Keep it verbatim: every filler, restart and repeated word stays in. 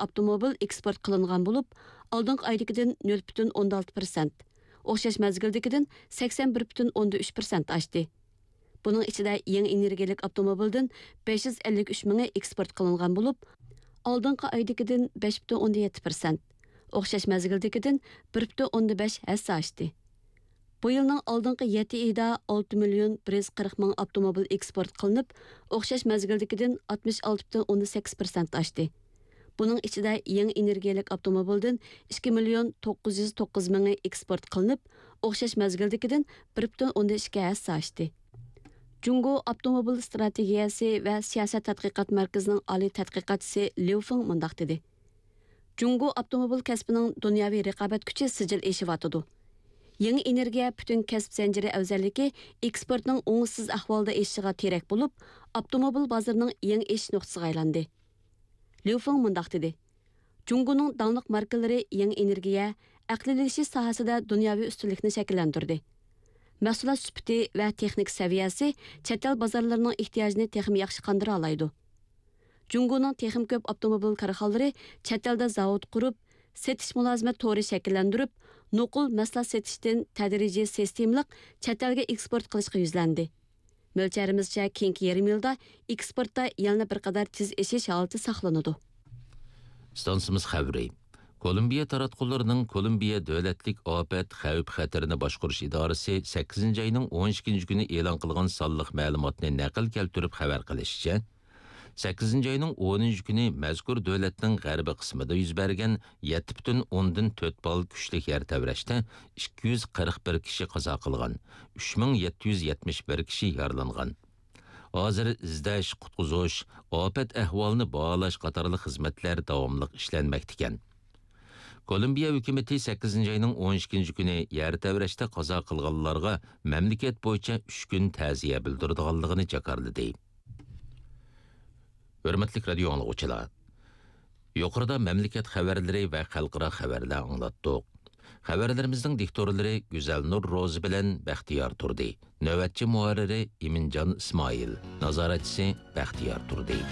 ئاپتوموبىل ئېكسپورت قىلىنغان بولۇپ، ئالدىنقى ئايدىكىدىن نۆل پۈتۈن ئوندىن ئالتە پىرسەنت، ئوخشاش مەزگىلدىكىدىن سەكسەن بىر پۈتۈن ئوندىن ئۈچ پىرسەنت ئاشتى. بۇنىڭ ئىچىدە يېڭى ئېنېرگىيەلىك ئاپتوموبىلدىن بەش يۈز ئەللىك ئۈچ مىڭى ئېكسپورت قىلىنغان بولۇپ، ئالدىنقى ئايدىكىدىن بەش پۈتۈن ئوندىن يەتتە پىرسەنت، ئوخشاش مەزگىلدىكىدىن بىر پۈتۈن ئوندىن بەش ھەسسە ئاشتى. بۇ يىلنىڭ ئالدىنقى يەتتە ئېيىدا ئالتە مىليون بىر يۈز قىرىق مىڭ ئاپتوموبىل ئېكسپورت قىلىنىپ، ئوخشاش مەزگىلدىكىدىن ئاتمىش ئالتە پۈتۈن ئوندىن سەككىز پىرسەنت ئاشتى. بۇنىڭ ئىچىدە يېڭى ئېنېرگىيەلىك ئاپتوموبىلدىن ئىككى مىليون توققۇز يۈز توققۇز مىڭى ئېكسپورت قىلىنىپ، ئوخشاش مەزگىلدىكىدىن بىر پۈتۈن ئوندىن ئىككى ھەسسە ئاشتى. جۇڭگو ئاپتوموبىل ئىستراتېگىيەسى ۋە سىياسەت تەتقىقات مەركىزىنىڭ ئالىي تەتقىقاتچىسى ليۇ فېڭ مۇنداق دېدى: جۇڭگو ئاپتوموبىل كەسپىنىڭ دۇنياۋى رىقابەت كۈچى سىجىل ئېشىۋاتىدۇ. يېڭى ئېنېرگىيە پۈتۈن كەسىپ زەنجىرى ئەۋزەللىكى ئېكسپورتنىڭ ئوڭۇشسىز ئەھۋالدا ئېشىشىغا تىرەك بولۇپ، ئاپتوموبىل بازىرىنىڭ يېڭى ئېشىش نۇقتىسىغا ئايلاندى. ليۇ فېڭ مۇنداق دېدى: جۇڭگونىڭ داڭلىق ماركىلىرى يېڭى ئېنېرگىيە، ئەقلىيلىشىش ساھەسىدە دۇنياۋى ئۈستۈنلۈكنى شەكىللەندۈردى. مەھسۇلات سۈپىتى ۋە تېخنىكا سەۋىيەسى چەت ئەل بازارلىرىنىڭ ئېھتىياجىنى تېخىمۇ ياخشى قاندۇرالايدۇ. جۇڭگونىڭ تېخىمۇ كۆپ ئاپتوموبىل كارخانىلىرى چەت ئەلدە زاۋۇت قۇرۇپ، سېتىش مۇلازىمەت تورى شەكىللەندۈرۈپ، نوقۇل مەھسۇلات سېتىشتىن تەدرىجىي سىستېمىلىق چەت ئەلگە ئېكسپورت قىلىشقا يۈزلەندى. مۆلچەرىمىزچە، كېيىنكى يېرىم يىلدا ئېكسپورتتا يەنىلا بىر قەدەر تېز ئېشىش ھالىتى ساقلىنىدۇ. ئىستانسىمىز خەۋىرى. كولومبىيە تاراتقۇلىرىنىڭ كولومبىيە دۆلەتلىك ئاپەت خەۋپ خەتىرىنى باشقۇرۇش ئىدارىسى سەككىزىنچى ئاينىڭ ئون ئىككىنچى كۈنى ئېلان قىلغان سانلىق مەلۇماتنى نەقىل كەلتۈرۈپ خەۋەر قىلىشىچە، سەككىزىنچى ئاينىڭ ئونىنچى كۈنى مەزكۇر دۆلەتنىڭ غەربىي قىسمىدا يۈز بەرگەن يەتتە پۈتۈن ئوندىن تۆت بال كۈچلۈك يەر تەۋرەشتە ئىككى يۈز قىرىق بىر كىشى قازا قىلغان، ئۈچ مىڭ يەتتە يۈز يەتمىش بىر كىشى يارىلانغان. ھازىر ئىزدەش، قۇتقۇزۇش، ئاپەت ئەھۋالىنى باھالاش قاتارلىق خىزمەتلەر داۋاملىق ئىشلەنمەكتىكەن. كولومبىيە ھۆكۈمىتى سەككىزىنچى ئاينىڭ ئون ئىككىنچى كۈنى يەر تەۋرەشتە قازا قىلغانلارغا مەملىكەت بويىچە ئۈچ كۈن تەزىيە بىلدۈرىدىغانلىقىنى جاكارلىدى. ھۆرمەتلىك رادىيو ئاڭلىغۇچىلار، يۇقىرىدا مەملىكەت خەۋەرلىرى ۋە خەلقئارا خەۋەرلەر ئاڭلاتتۇق. خەۋەرلىرىمىزنىڭ دىكتورلىرى گۈزەلنۇر روزى بىلەن بەختىيار تۇردى. نۆۋەتچى مۇھەررىرى ئىمىنجان ئىسمائىل. نازارەتچىسى بەختىيار تۇردى.